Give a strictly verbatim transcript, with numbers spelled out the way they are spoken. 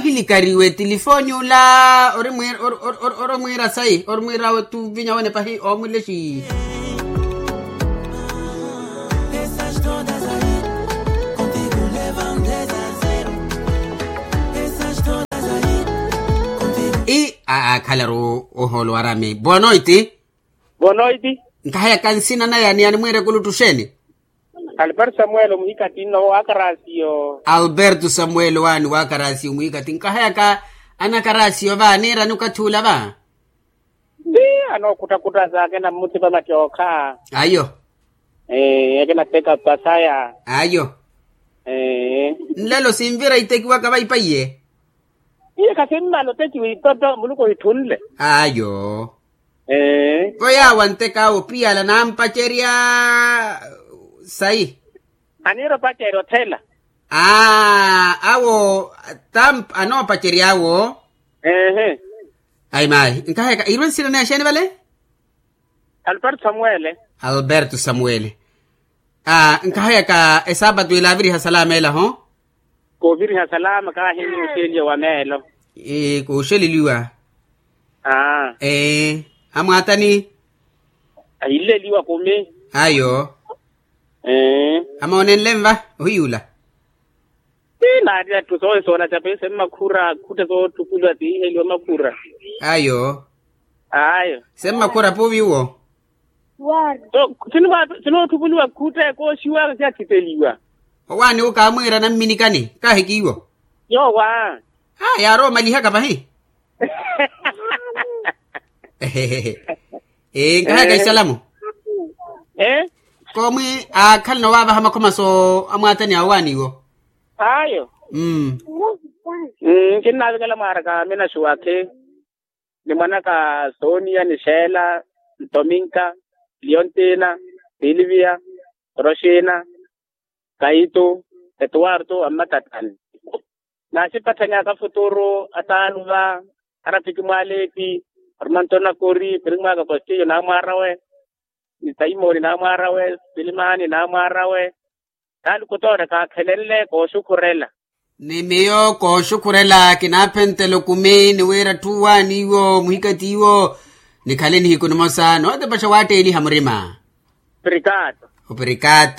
Ahilikariwe tilifooni ula. Ori mwiira sayi ori mwiira wetu vinya wene pahi oomulexi. I a akhalaru ohoolo warami boa noiti. Boa noiti. Nkahayaka nsina naya ni animwiire kuluttu xeeni? Alberto samuel omuhikatini noho wakarasiyo. Alberto samuel waani wakarasiyo omuhikatini nkahayaka anakarasiyo va niirani okathi ula va. Ti anookhuttakhuttasa akina mmuti va mattookha. Ayo. Akinateka pasaya. Ayo. Nlelo sinvira itekiwaka va ipaiye. Iye khasimmala otekiwa itoto muluku ohitthunle. Ayo. Vo yaawo antek'awe opiyala nampacerya sayi. Aniira opacerya othela. Awo anoopacerya awo. Ayi mayi nkahayaka irwe nsina naye xeeni vale? Alberto samuele. Alberto samuele. Nkahayaka esaapatu ila aviriha salama ela ho. Kooviriha salama kaahini oxeliwa wa meelo. Kooxeleliwa. Amwaatani. Ahileliwa kumi. Ayo. Amoonenle nva ohiyuula. Ti naari atthu soohi soola cape semmakhura khutte soottupuliwa tiiheliwa makhura. Ayo. Ayo. Semmakhura puuvi uwo. Sinoottupuliwa khutte kooxiwaka siyakhiteliwa. Owaani wu kaamwiira namminikani kaahiki iwo. Yoowa. Yaarowa omalihaka pahi. Nkahayaka isalamu. Koomwi aakhalana owaavaha makhomaso amwaatani awo waani iwo. Ayo. Nkinnavikela mwaaraka aminaxuwakhi ni mwanaka sonia ni xeela, ntominka, liontina, silivia, roxina, kaitu, etuwartu ammatatani. Naaxipatthanyaka futuru ataanu va, arafiki mwaaleepi, ormanto nakori pirimwaaka kostiyo naamwaarawe, ni saimoni naamwaarawe, silimani naamwaarawe. Taani kutoora kaakhelenle kooxukhurela. Ni miyo kooxukhurela kinaaphentela okumi ni wira atthu waani iwo muhikati iwo. Nikhale nihiku nimosa nootepaxa waatteeliha murima. Oprikato. Oprikato.